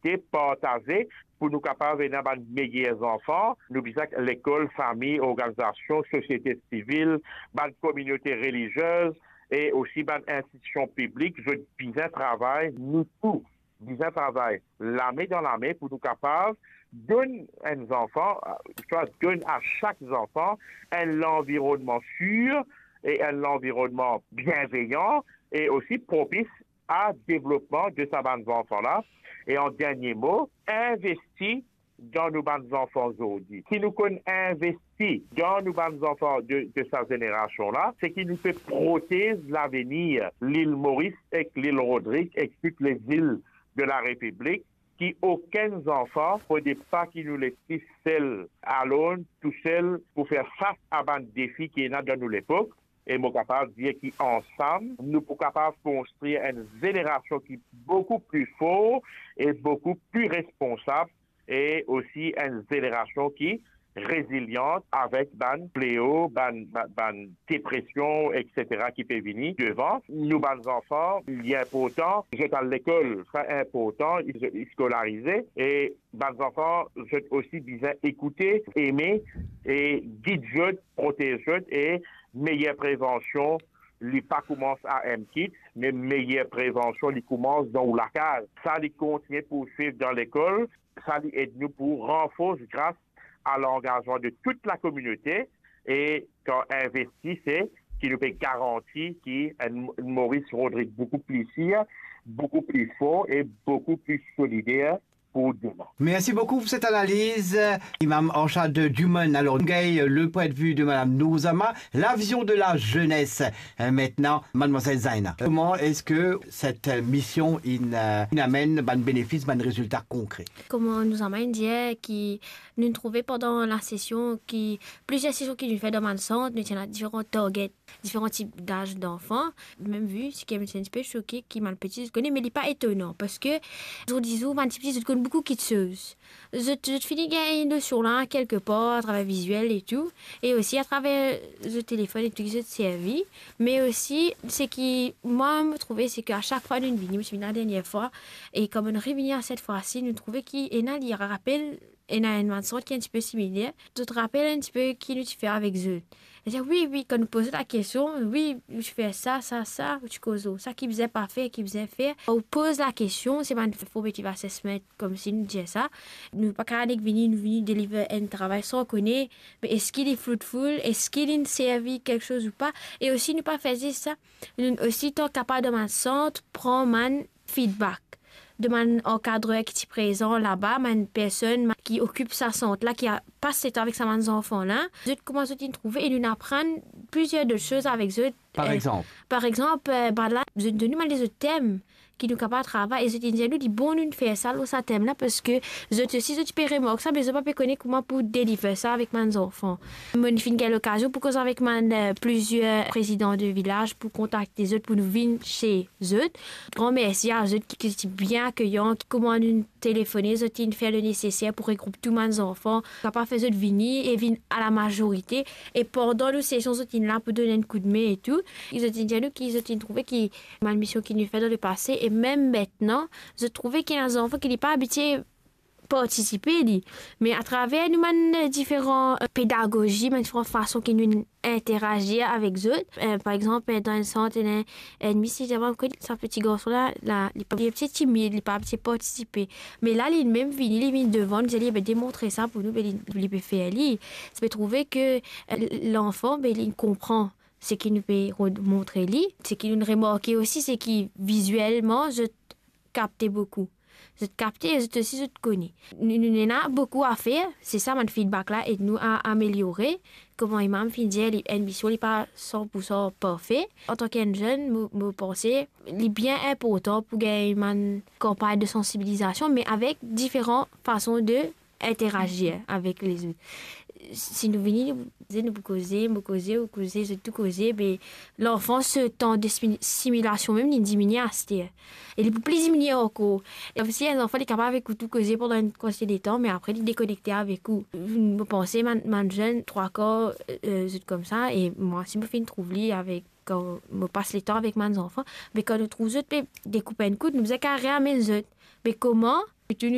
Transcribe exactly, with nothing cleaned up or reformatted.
konekte, partaze, pou nou kapav ena bann meyer zanfan. Nou bizin lekol, fami, organizasion, sosiete sivil, bann kominote reliziez e osi bann institision piblik, zot bizin travay, nou tou bizin travay lame dan lame pou nou kapav donn enn zanfan, swa donn a sak zanfan enn lanvironnman sir e enn lanvironnman bienveyan e osi propis a devlopman de sa bann zanfan la. E an dernie mo, investi dan nou bann zanfan zordi. Si nou konn investi dan nou bann zanfan de, de sa zenerasion la, seki nou pe protez lavenir Lil Moris ek Lil Rodrig ek tou lezil de la Repiblik, ki okenn zanfan, fode pa ki nou les li sel, alone, tousel, pou fer fas a bann defi ki ena dan nou lepok. E mo kapav dir ki ansam, nou pou kapav konstrir enn zenerasion ki boukou pli for e boukou pli responsab, e osi enn zenerasion ki rezilian avek bann fleo, bann, bann, bann depresion, etsetera, ki pe vini devan. Nou bann zanfan, li inportan zot al lekol, sa inportan, zot skolarize, e bann zanfan, zot osi bizin ekoute, eme e gid zot, protez zot, e meyer prevansion, li pa koumans a enn kit, me meyer prevansion, li koumans dan ou lakaz. Sa, li kontigne pou swiv dan lekol, sa, li ed nou pou ranfors gras a langazman de tou lakominote, e kan investi, se ki nou pe garanti ki enn Moris Rodrig boukou pli sir, boukou pli for e boukou pli solider pou demin. Mersi boukou pou set analiz, Imam Arshad Juman. Alor, nou gagn le pwin de vi de Madam Nouzama, la vizion de la zenes. Eh, mintnan, Madmwazel Zaina, kouma eski set mision inn, eh, inn amenn bann benefis, bann rezilta konkre? Kouma Nouzama inn dir, ki nou trouve pandan la sesion ki plizier sesion ki nou fer dan bann sant, nou ti ena diferan target, diferan tip daz danfan. Mem vi, seki mo ti enn tipe soke ki bann piti zot kone, me li pa etonan, parski zordi zour bann tipti zot konn boukou kitsoz. Zot, zot fini gagn nosion la kelke par atraver viziel e tou, e osi atraver zot telefonn e tou ki zot servi. Me osi, seki mwa mo trouve, seki a sak fwa nou vini, mo ti vinn la dernie fwa, e kan mo revini a set fwa si, nou trouve ki ena, li rapel, ena enn bann sant ki enn tipe similer. Zot rapel enn tipe ki nou ti fer avek zot. Li dir, wi, wi, kan nou poz zot lakestion, wi, nou ti fer sa, sa, sa, ou ti koz lor sa ki bizin pa fer, ki bizin fer. Ou poz lakestion, se bann formative assessment, koumsi nou dir sa. Nou pa kapav nek vini, nou vini deliver enn travay san kone, me eski li fruitful, eski li servi kiksoz ou pa. E osi, nou pa fer zis sa. Nou osi, tan kapav dan bann sant, pran bann feedback de bann ankadrer ki ti prezan laba, bann personn ki okip sa sant la, ki a pas letan avek sa bann zanfan la. Zot, kouma zot inn trouve, e nou aprann plizier dot soz avek zot. Par, eh, exanp? Par exanp, eh, bann la, zot donn nou bann lezot tem ki nou kapav travay, e zot inn dir nou, li bon nou fer sa lor sa tem la, parski zot osi, zot ti pe remark sa, me zot pa pe kone kouma pou deliver sa avek bann zanfan. Mo finn gagn lokazion pou koz avek bann, eh, plizier prezidan de vilaz pou kontakte zot pou nou vinn se zot. Gran mersi a zot ki, ki ti bien akeyan, ki kouma nou telefone, zot inn fer le neseser pou regroup tou bann zanfan, kapav fer zot vini e vinn a la mazorite. E pandan nou sesion, zot inn la pou donn enn koudme e tou. Zot inn dir nou ki zot inn trouve ki bann mision ki nou fer dan lepase, e mem mintnan, zot trouve ki ena zanfan ki li pa abitie partisipe li. Me atraver nou bann, eh, diferan, eh, pedagozi, bann diferan fason ki nou interazir avek zot. Eh, par exanp, eh, dan enn sant, ena enn, enn mis, li dir mwa, sa peti garson la, la, li pa, li ti timid, li pa ti partisipe. Me la, li mem vini, li vinn devan, li dir, be, demontre sa pou nou, be, li, li pe fer li. Sa pe trouve ki, eh, lanfan, be, li konpran seki nou pe ro-, montre li, seki nou remarke osi, seki vizielman, zot kapte boukou. Zot kapte, zot osi, zot kone. Nou, nou ena boukou a fer, se sa bann feedback la ed nou a ameliore. Kouma Imam finn dir, li, enn mision, li pa san pou san parfe. Antan ki enn zenn, mo, mo panse, li bien inportan pou gagn bann kanpagn de sansibilizasion, me avek diferan fason de interazir avek lezot. Si nou vini, nou, nou pou koze, mo koze, ou koze, zot tou koze, be, lanfan, so tan de simi-, similasion mem, li diminie aster. E li pou pli diminie ankor. E si enn zanfan, li kapav ekout ou koze pandan enn kantite letan, me apre, li dekonekte avek ou. Mo panse, bann, bann zenn, trwa kar, eh, zot koumsa, e mwa, si mo finn trouv li avek, kan mo pas letan avek bann zanfan, be, kan nou trouv zot pe dekoup enn kout, nou bizin kapav reamenn zot. Be, kouma Tourtoun